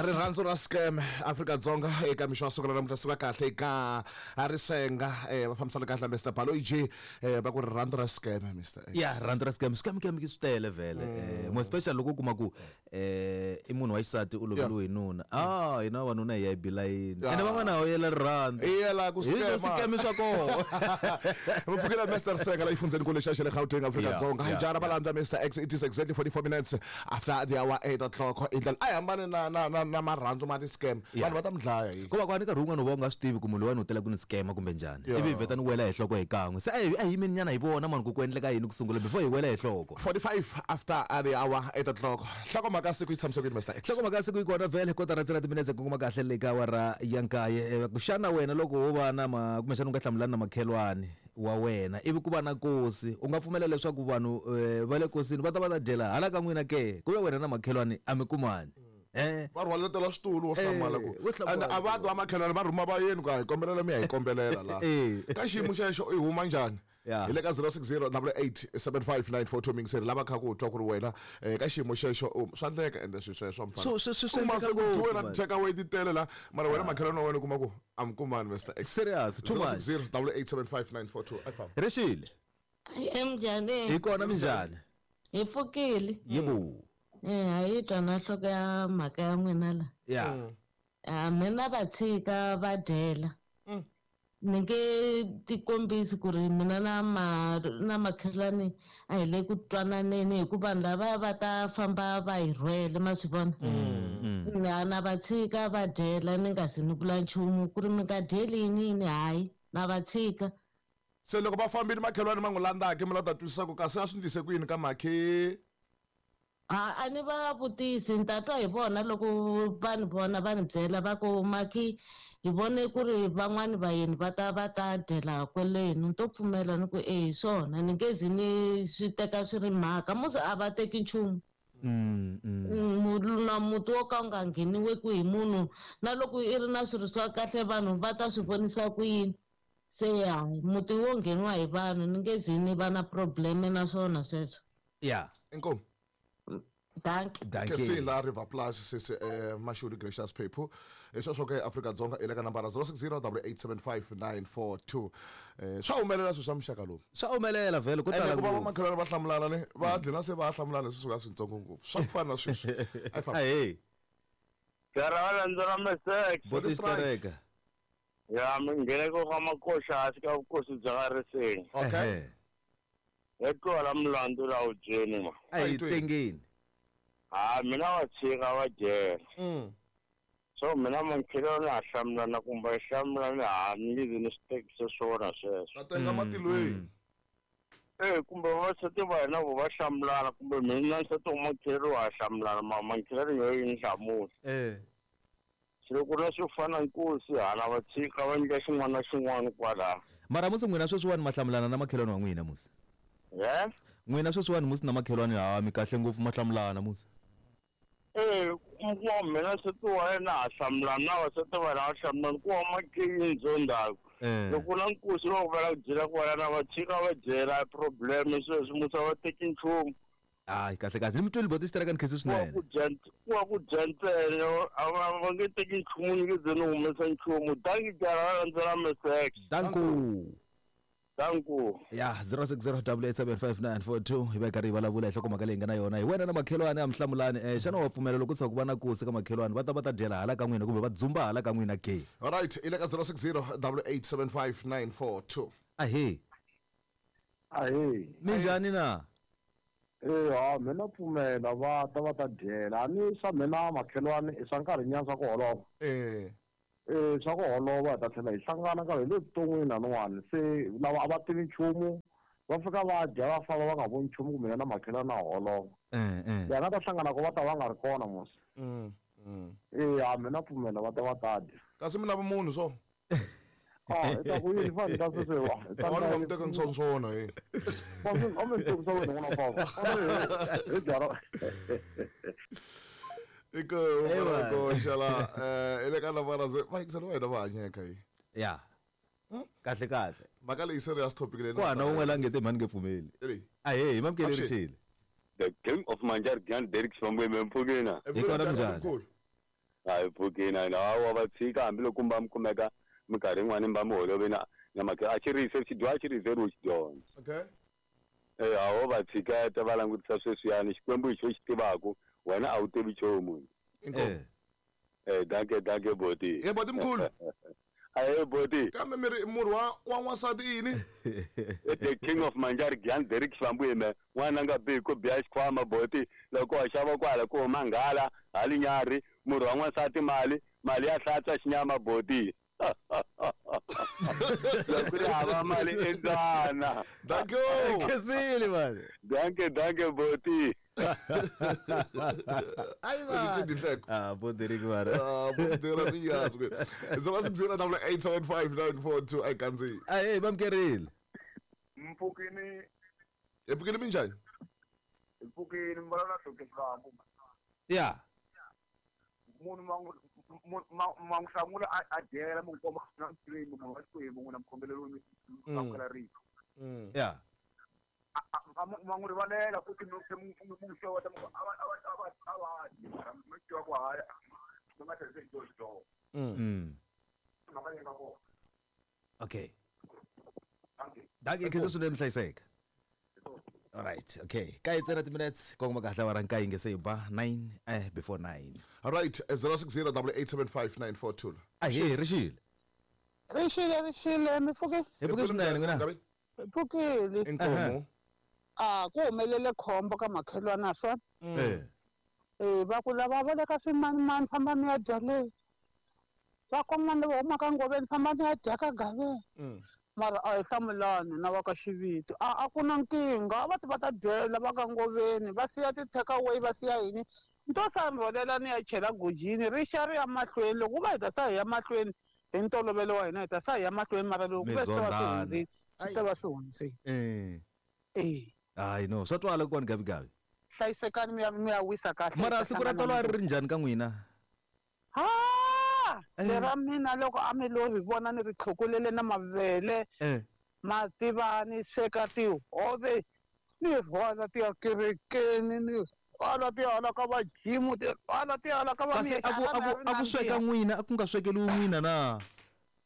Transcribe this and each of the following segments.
Rirhandzu ra scam Afrika-Dzonga eka mixo wa siku ra namuntlha suka kahle eka Risenga va fambisana kahle na Mr Baloyi J va ku rirhandzu ra scam Mr X. Ya rirhandzu ra scam scam scam swi tele vhele more especially loko u kuma ku i munhu wa xisati u loveriwe hi nuna ah hina vavanuna hi ya hi bilayini ene van'wana ha yela rirhandzu Hi yela ku hi swo scam. scam swa koho Mi pfukile Mr Risenga la yifundzeni kule xa xa le Gauteng Afrika-Dzonga hi jara va landza Mr X it is exactly 44 minutes after the hour 8 o'clock i ndlela a yi hambane na na na na marhandzu ma ti-scam vanhu va ta mi dlaya hi ko va kwani nkarhi wun'wana u va u nga swi tivi ku munhu loyiwani u tela ku ni scam kumbe njhani ivi hi vheta ni wela hi nhloko hi kan'we se a hi a hi yimeni nyana hi vona mani ku ku endleka yini ku sungula before hi wela hi nhloko 45 after the hour 8 o'clock nhlokomhaka siku yi tshamise ku yini Mr X nhlokomhaka siku yi kona vhele kotara ntsena timinetse ku kuma kahle le ka awara ya nkaye Eh, xana wena loko wo va na ma kumbexana u nga hlamulani na makhelwani wa wena ivi ku va na kosi u nga pfumela leswaku vanhu eh, va le kosini va ta va ta dyela hala ka n'wina ke ku ve wena na makhelwani a mi kumani eh va rhwaletela switulu wo hlamala ku wo hlamala. and a va twa makhelwani va rhuma vayeni ku a hi kombelela mi ya hi kombelela laha Eh. ka xiyimo xexo i huma njhani Yeah. hi le ka 060 8875942 mingiseri lava kha ku twa ku ri wena ka xiyimo xexo swa endleka ende swi sweswo mfana Swi Kuma endleka se ku ngopfu, dyiwe na man. take away ti tele la mara wena makhelwani wa wena u kuma ku a mi kumani Mr X Serious, too much. 060 8875942 a famba rixile Emjani hi kona minjhani hi pfukile yebo a yi twa na nhloko ya mhaka ya n'wina la ya a mina va tshika va dyela ni nge tikombisi ku ri mina na ma na makhelwani a hi le ku twananeni hikuva vanhu lavaya va ta famba va hi rhwele ma swi vona na na va tshika va dyela ni nga zi ni vula nchumu ku ri mi nga dyeli yini yini hayi na va tshika se loko va fambile makhelwani ma n'wi landzaka mi la ta twisisa ku kasi a swi ndlise ku yini ka makhe A a ni va vutisi ni ta twa hi vona loko va ni vona va ni byela va ku maki hi vone ku ri van'wani vayeni va ta va ta dyela kwelenu ni to pfumela ni ku e hi swona ni nge zi ni swi teka swi ri mhaka musi a va teki nchumu na muti wo ka wu nga ngheniweku hi munhu na loko i ri na swilo swa kahle vanhu va ta swi vonisa ku yini se hayi muti wo ngheniwa hi vanhu ni nge zi ni va na probleme na swona sweswo ya inkomu dankie dankie Kesi la River Plus sisi Mashuri Gracious Phephu hi sweswo ke Afrika-Dzonga i le ka nambara 060 8875942 swa humelela swilo swa muxaka lowu swa humelela vhele ko ene tala ku va ngopfu. vamakhelwani va hlamulana ni va dlina se va hlamulana leswi suka swintsongo ngopfu swa ku fana na sweswi a yi famba ahee Jara va landzela Mesek. boti xitereka Ya mi ngheneko ka makoxa hansi ka vukosi bya ka Riseni. okay Ehe. Hi twala mulandu la wudyeni ma. a hi A hi tweni. tengeni Ha mina va tshika va dyela. So mina makhelwani ha hlamulana kumbe hi hlamulani ha ni nge zi ni swi tekise swona sweswo. ta tenga matilweni Kumbe vavasati va hina vo va hlamulana kumbe mina nsati wa makhelwani wa hlamulana ma makhelwani yo yi ni hlamula. eh Se loko na swo fana nkosi hala va tshika va endla xin'wana na xin'wana kwalaho. mara musi n'wina sweswiwani ma hlamulana na makhelwani wa n'wina musi Ye? n'wina sweswiwani musi na makhelwani ha mi kahle ngopfu ma hlamulana musi Kuma mina nsati wa yena ha hlamulana na vasati va hina va hlamulana ku wa makeyini ndzondhaku. Loko na nkosi va ku va la ku dyela kwalana va tshika va dyela problem sweswi musa va teki nchumu. hayi kahle kahle ni mi tweli boti xitereka ni khensi Ku wa swinene ku dya ku wa ku dya ntsena a va nge teki nchumu ni nge ze ni humesa nchumu. Dankie jara va landzela Mesek. danko Danko. ya 06087594 hi va hi karhi hi vulavula hi nhlokomhaka leyi nga na yona hi wena na makhelwani a mi hlamulani xana wa pfumela loko tshuka ku va na kosi ka makhelwani va ta va ta dyela hala ka n'wina kumbe va dzumba hala ka n'wina ke alright i le ka 060 8875942 ahee Ahee. minjhani na Ha mina pfumela va ta va ta dyela a ni swa mina makhelwani i swa nkarhinyana swa ku holova swa ku holova hi ta tlhela hi hlangana nkarhi hi le vuton'wini laniwani se lava a va tivi nchumu va fika va dya va famba va nga voni nchumu ku mina na makhelwani na holova ya nga ta hlangana ko va ta va nga ri kona mos ha mina pfumela va ta va ta dya kasi mi na vumunhu so a hi ta ku yini fani ta sweswi wa hi ta a ni nga mi teka ni swona he a mi ni tekisa wena n'wana papa hi byara i ku koxa la i le ka nambara va yingiseli va hina va hanyeka yi ya kahle kahle mhaka leyi serious topic leyi ku hana wun'we la nge te mhani nge pfumeli Leyi. ahee hi mamukeli Avuxeni. rixile The King of Manjar Grand Derek Sibambe Mphukina. Hi kona minjhani? Mkhulu. Hayi pfukini na wa va tshika hambiloko va mi kumeka minkarhi yin'wani va mi holovi na na makhe a xi rise xidyoho a xi rizeriwi xidyondza. Okay. A wo va tshiketa va langutisa sweswiyani Xikwembu hi xo xi tivaku wena a wu tivi nchumu. Inkomu. Danke danke boti. Ye boti mkhulu. Ahe boti. Kambe mi ri murhi wa wa n'wansati i yini? The king of Manjari Gian Derek Xivambu n'wana nga bihi ku biha xikhwama boti loko wa xava kwala ku huma nghala hali nyarhi murhi wa n'wansati mali mali ya hlantswa xinyama boti. Loko ri hava mali i mbyana. Thank you. Khensile mani. Danke danke boti. Ai va. Ah, bo Derek mara. Ah, bo Derek ni yazi ke. 060 8875942 ay kanzi. Ay, bamkerile. Mpfukini. Mpfukini minjani? Mpfukini mbalana hloke Xivambu. Yeah. Munhu ma n'wi hlamula a dyela mi n'wi komba na Xikwembu munhu wa Xikwembu n'wina mi khongeleriwe mi amukela rito. Yeah. Ma n'wi rivalela futhi mi n'wi xeweta mi ku a va a va a va a va dyi mara mi tiva ku hayi mi nga tlherisi xidyoho xidyoho. Mhaka leyi nga kona. Okay. Dankie. Dankie khensa swinene mi hlayiseka. All right, okay. Kaye ntsena ti-minutes kongoma kahle awara nkaye nge se yi ba 9 before 9. All right, 060 8875942. Ahee, ri xile. Ri xile, ri xile, mi pfuke. Hi pfuke swinene n'wina. Hi pfukile. Inkomu. A ku humelele khombo ka makhelwana swona. Eh. Eh, va ku lava va le ka swimanimani famba mi ya dya le. Va kon'wana lava humaka ngoveni famba mi ya dya ka gaveni. Mara a hi hlamulani na va ka xiviti. A a ku na nkingha, a va ti va ta dyela va ka ngoveni, va siya ti-take away va siya yini. Ni to sa rhwalela ni ya chela gojini ri xa ri ya mahlweni. Loko ku va hi ta sa hi ya mahlweni hi ntolovelo wa hina hi ta sa hi ya mahlweni mara loko ku ve swi ta va swi hundzile, swi ta va swi hundzile. Eh. Eh. Hayi no, swa twala kokwana Gavi Gavi. Hlayisekani mi ya mi ya wisa kahle. Mara siku ra tolo a ri ri njhani ka n'wina? Ha! Lera mina loko a mi lo ri vona ni ri tlhukulele na mavele. Ma tiva ni sweka tihove ni rhwala ti ya kerekeni ni rhwala ti ya hala ka va jimu ti rhwala ti ya hala ka va Kasi a ku a ku a ku sweka n'wina a ku nga swekeriwi n'wina na?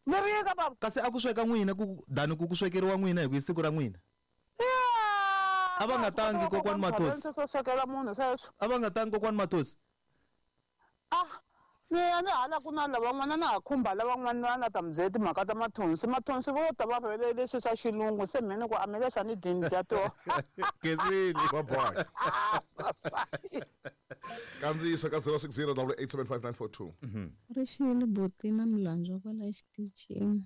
Ni ri yini ka bava? Kasi a ku sweka n'wina ku dani ku ku swekeriwa n'wina hi ku i siku ra n'wina? A va nga tangi kokwani Mathosi. Swo swekela munhu sweswo. A va nga tangi kokwani Mathosi. Ah, ni ya ni hala ku na lavan'wana na ha khumba lavan'wana va nga ta mi byela timhaka ta mathonsi. Mathonsi vo ta va rhwele leswi swa xilungu se mhe ni ku a mi leswi a ni dyi ni dya toho. Khensile. Bye bye. Kandziyisa ka 060 8875942. Ri xile buti na milandzu kwala xitichini.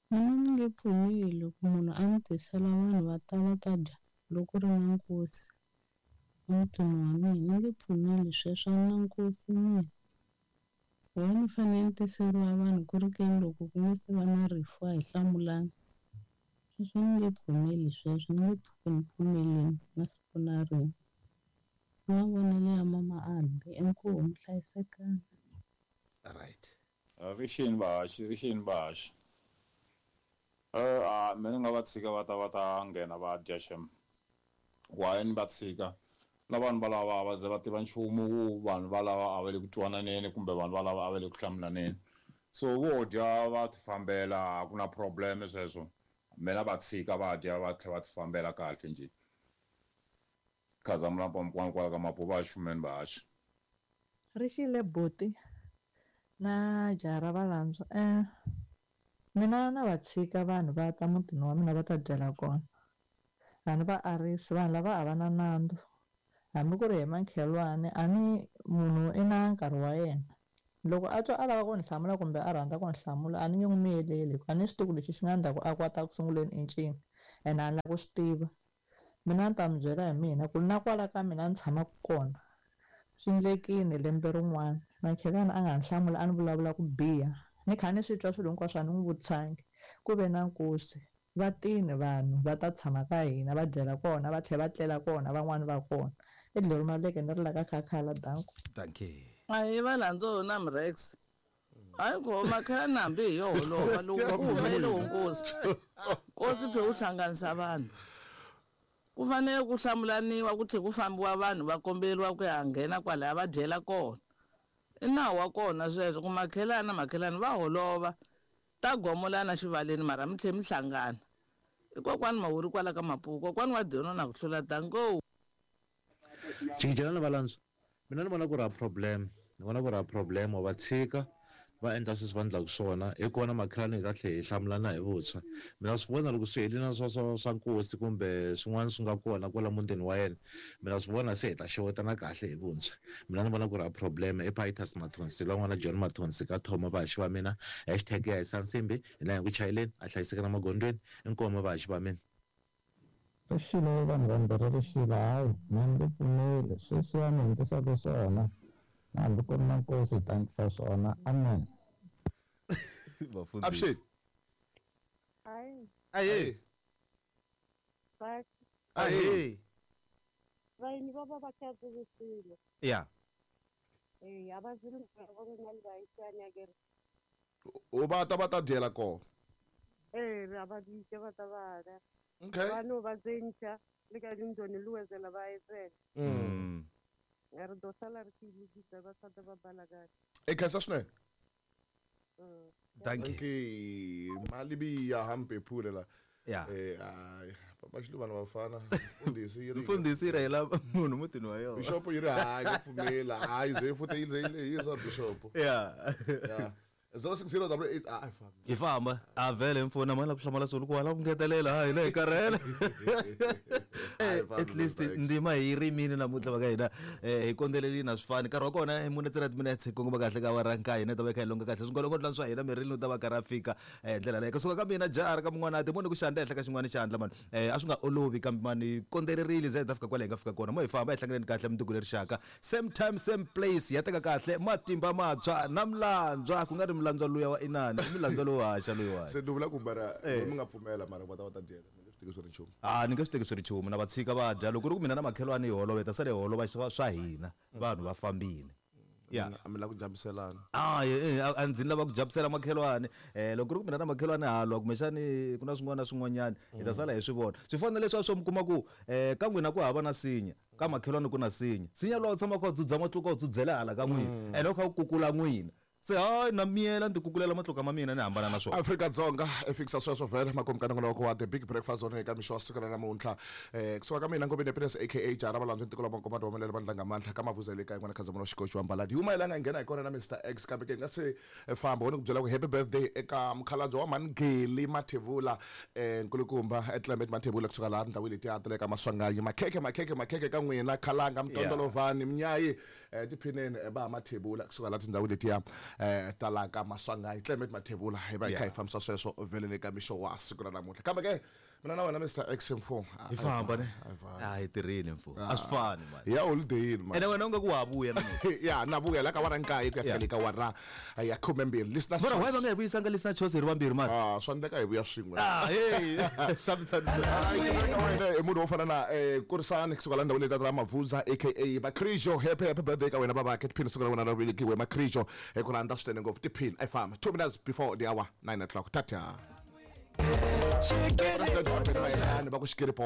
Mina ni nge pfumeli ku munhu a ni tisela vanhu va ta va ta dya loko ri na nkosi emutini wa mina. Ni nge pfumeli sweswo, a ni na nkosi mina. Why ni fanele ni tiseriwa vanhu ku ri keni loko ku nga se va na rifu a hi hlamulani. Sweswo ni nge pfumeli sweswo, ni nge pfuki ni pfumelini na siku na rin'we. Na vonelo ya mama Albi, inkomu hlayisekani. Right. Rixini vahaxi, rixini vahaxi. A mina ni nga va tshika va ta va ta nghena va dya xem. Why ni va tshika? Na vanhu valava a va ze va tiva nchumu ku vanhu valava a va le ku twananeni kumbe vanhu valava a va le ku hlamulaneni. So vo dya va ti fambela a ku na problem sweswo. Mina va tshika va dya va tlhela va ti fambela kahle njhe. Khazamula Mpambukwana kwala ka Mapuva xumeni vahaxi. Ri xile buti na jaha ra valandzwa. Mina na va tshika vanhu va ta mutini wa mina va ta dyela kona. A ni va arisi vanhu lava a va na nandzu. Hambi ku ri hi makhelwani a ni munhu i na nkarhi wa yena. Loko a twa a lava ku ni hlamula kumbe a rhandza ku ni hlamula a ni nge n'wi miyeleli hikuva a ni swi tivi ku lexi xi nga ndzhaku a kwata ku sunguleni i ncini ene a ni lavi ku swi tiva. Mina ni ta mi byela hi mina ku na kwala ka mina ni tshamaka kona swi endlekile lembe rin'wana makhelwani a nga ni hlamuli a ni vulavula ku biha ni kha ni swi twa swilo hinkwaswo a ni n'wi vutisangi ku ve na nkosi va tini vanhu va ta tshama ka hina va dyela kona va tlhela va tlela kona van'wani va kona i dlelo maleke ni ri la ka khakhala danko. Dankie. A hi va landzo na Mrex. Hayi ku makhelwani hambi hi yo holova loko ku humelele wo nkosi. Nkosi phe wu hlanganisa vanhu. Ku fanele ku hlamulaniwa ku tlhe ku fambiwa vanhu va komberiwa ku ya nghena kwalaya va dyela kona. I nawu wa kona sweswo ku makhelana makhelani va holova ta gomolana xivaleni mara mi tlhe mi hlangana. I kokwani Mawuri kwala ka Mapuku kokwani wa Dyono na ku hlula danko. Cikicelana valandzwa mina ni vona ku ri a problem ni vona ku ri a problem va tshika va endla sweswi va endlaka swona hi kona makhelwani hi ta tlhela hi hlamulana hi vuntshwa mina swi vona loko swi helile na swa swa swa nkosi kumbe swin'wana swi nga kona kwala mutini wa yena mina swi vona se hi ta xewetana kahle hi vuntshwa mina ni vona ku ri a problem i Pitus Mathonsi la n'wana John Mathonsi ka Thoma vahaxi va mina hashtag ya hisa nsimbi hi la hi ku chayeleni a hlayiseka na magondzweni inkomu vahaxi va mina. Rixile vanhu vambirhi rixile hayi mina ni nge pfumeli sweswiya mi hi endlisaka swona na hambi ku ri na nkosi hi ta endlisa swona amen. Avuxeni. Hayi. Ahee. Ba. Ahee. Vayeni va va va khatsiwisile. Ya. Eh, a va zili va ri na vayisani akere. O va ta va ta dyela kona. Eh, a va bitse va ta va dya. Okay. Va no va tsentšha le ka dintoni le wezela ba etsela. Re do sala re se lokisa ba sa ba bala kahle. E khensa swinene. Thank you. Malibiya hampe phule la. Ya. Eh ay papa xiluvana vafana mfundhisi yi ri Mfundhisi yi rheyila munhu mutini wa yona. Bishop yi ri hayi ku pfumela hayi ze futhi yi ze yi lehisa bishop. Ya. Ya. 06088 a famba. Hi famba a vhele mfuna mani la ku hlamala swilo ku wala ku ngetelela ha hina hi karhele. At least ndima hi rimini namuntlha va ka hina hi kondzelelini na swi fani nkarhi wa kona i mune ntsena timinetse kongoma kahle ka awara nkaye hina hi ta va hi kha hi longa kahle swingolongodlwana swa hina mirini u ta va karhi a fika hi ndlela leyo kusuka ka mina jara ka mun'wana ti moni ku xandla ehenhla ka xin'wana xandla mani a swi nga olovi kambe mani hi kondzelerile ze hi ta fika kwale hi nga fika kona mo hi famba hi hlanganeni kahle mundzuku leri xaka same time same place ya teka kahle matimba matshwa na milandzwa ku nga ri milandzwa luya wa inani i milandzwa lowo haxa loyiwani Se ni vula ku mara mi nga pfumela mara va ta va ta dyela mi nge swi teki swi ri nchumu. A ni nge swi teki swi ri nchumu na va tshika va dya loko ku ri ku mina na makhelwani hi holova hi ta sala hi holova swa swa hina vanhu va fambile ya A mi lava ku jambiselana. A a ndzi ni lava ku jambisela makhelwani loko ku ri ku mina na makhelwani ha lwa kumbexani ku na swin'wana na swin'wanyana hi ta sala hi swi vona swi fana na leswiya swo mi kuma ku ka n'wina ku hava na sinya ka makhelwani ku na sinya sinya luwa u tshama u kha u dzudza matluka u dzudzela hala ka n'wina ene u kha u kukula n'wina se hayi na miyela ni ti kukulela matluka ma mina ni hambana na swona. Afrika-Dzonga i fikisa sweswo vhele makumu ka nongonoko wa The Big Breakfast Zone eka mixo wa siku ra namuntlha. Kusuka ka mina Ngobeni Happiness aka Jara Valandzwa tiko la Makomati wa Malele Vandla Ngamandla ka Mavuza le kaya n'wana Khazamula Xikoxi wa Mbaladi. Hi huma hi la nga nghena hi kona na Mister X kambe ke hi nga se famba ho ni ku byela ku happy birthday eka mukhalabye wa Mhani Mathebula nkulukumba Clement Mathebula kusuka laha tindhawini letiya ta le ka Maswanganyi. Makhekhe makhekhe makhekhe ka n'wina Khalanga Mtondolovhani Mnyayi tiphineni va Mathebula kusuka laha tindhawini letiya ta la ka Maswanganyi. Clement Mathebula hi va hi kha hi fambisa sweswo vhele le ka mixo wa siku ra namuntlha. Kambe ke mina na wena Mr X mfo hi famba ne a hi tirhile mfo a swi fani mani hi ya holidayini mani ene wena u nga ku wa vuya namuntlha ya na vuya la ka wara nkaye ku ya fika le ka wara ya khumembirhi listeners mara why va nga hi vuyisanga listener choice hi ri vambirhi mani ah swa endleka hi vuya swin'we ah hey sambisani i munhu wo fana na Kurisani kusuka la ndhawini leti ta Mavuza aka Makrijo happy happy birthday ka wena babakhe tiphini siku ra wena ra velekiwe Makrijo hi ku rhandza swinene ngopfu tiphini a yi famba 2 minutes before the hour 9 o'clock tata. President wa Benny Mayengani va ku xikiripo.